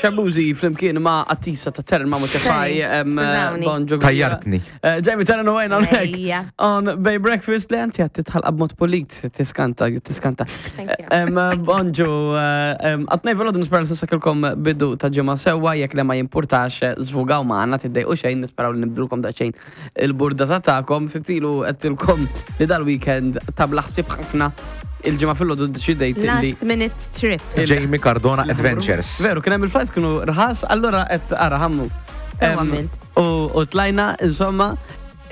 Xabuzi flimkien ma' Attisa ta' Terren ma' Muċefaj. Skużawni. Bonġu. Tajjartni. Jamie Terren u għajna hawnhekk. Ejja. On Bay Breakfast li għanti għat titħalqa b'mod pulit, tiskanta, tiskanta. Thank you. Bonġu, għatnej velodu nispera li sissa kelkom bidu ta' ġimgħa sewwa, jekk le ma jimpurtax, zvugaw maħna tiddejqu xejn, nisperaw li nibdulkom daqsxejn il-burdata tagħkom. Fitilu għedtilkom li dal-weekend ta' bla ħsieb ħafna il-ġimgħa filgħodu ddeċidejt li Last minute trip. Jamie Cardona Adventures. Veru, kien hemm il-flights kienu rħas, allura qed ara ħammu. Sewwa Em, għamilt. U tlajna, insomma,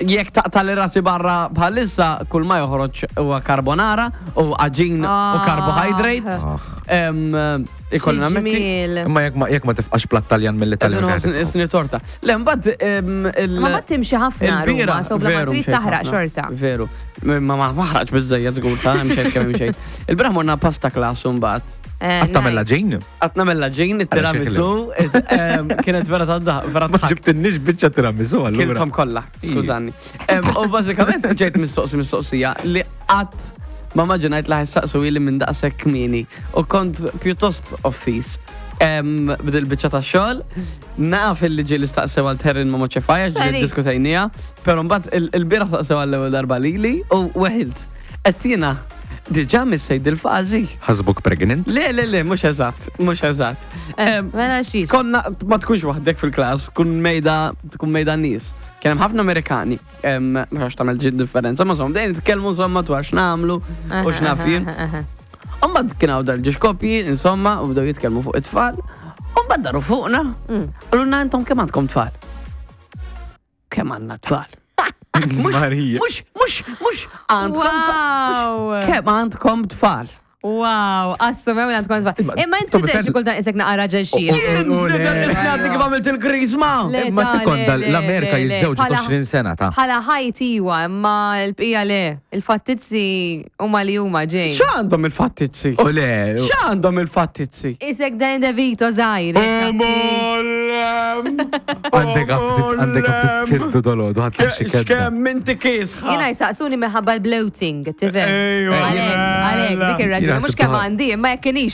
jekk taqta' li rasi barra bħalissa, kull ma joħroġ huwa carbonara u għaġin u Ah. carbohydrates. Ah. Ikolli nammetti. Ġmiel. Imma jekk ma jekk ma tifqax platt Taljan mill-Italja. Qed inħoss isni torta. Le, mbagħad il- Ma ma timxi ħafna il-bira, Ruma, so bla ma veru, trid mxejt taħraq ħafna. xorta. Veru. Ma ma maħraqx biżejjed żgur ta' mxejt kemm imxejt. Il-bieraħ morna pasta class mbagħad. Għad tagħmel l-għaġin? Għad nagħmel l-għaġin, it-tiramisu, kienet vera ta' daħ, vera Ma ta' ġibtinniex biċċa tiramisu allura. Kilthom kollha, skużani. U bażikament ġejt mistoqsi mistoqsija li qatt ma maġinajt li ħajsaqsu ili minn daqshekk kmieni u kont pjuttost offiż. B'dil biċċa ta' xogħol, naf illi ġieli staqsew għal Terrin ma' Moċefaj għax ġieli Sorry. ddiskutejniha, però mbagħad il-bieraħ staqsew għall-ewwel darba lili u weħilt. Qed jiena diġà missejt dil-fażi. Ħasbuk pregnant? Le, le, le, mhux eżatt, mhux eżatt. Mela xiex. Konna ma tkunx waħdek fil-klass, tkun mejda, tkun mejda nies. Kien hemm ħafna Amerikani. Ma nafx tagħmel ġid differenza, ma insomma, bdejna nitkellmu insomma dwar x'nagħmlu u x'naf jien. Imbagħad kien hawn dal-ġiex koppji, insomma, u bdew jitkellmu fuq it-tfal. U mbagħad daru fuqna. Qalulna intom kemm għandkom tfal? Kemm għandna tfal? Marija. Mhux, mhux, mhux għandkom tfal. Wow. Kemm għandkom tfal? Wow, assumew li għandkom tfal. Imma inti Tobi, tidher xi fed- kultant isek naqra raġel xi. Għadni kif għamilt il-krisma. Le, Imma ta' sekonda, le, le, l-Amerika le, le. jiżżewġu Bħala- 20 sena ta' Bħala ħajt iwa, imma l-bqija le. Il-fattizzi huma li huma ġej. X'għandhom il-fattizzi? U le. X'għandhom il-fattizzi? Isek Dan DeVito żgħir. Għandek għabtit, għandek għabtit kiddu dolodu, għad xi kedda. X'kemm inti kiesħa. Jiena jsaqsuni minħabba l-bloating, tifhem? Ejwa, Għalek, għalek, dik ir-raġuni. Jiena Mhux ħsibtha- kemm għandi, imma jekk kienix.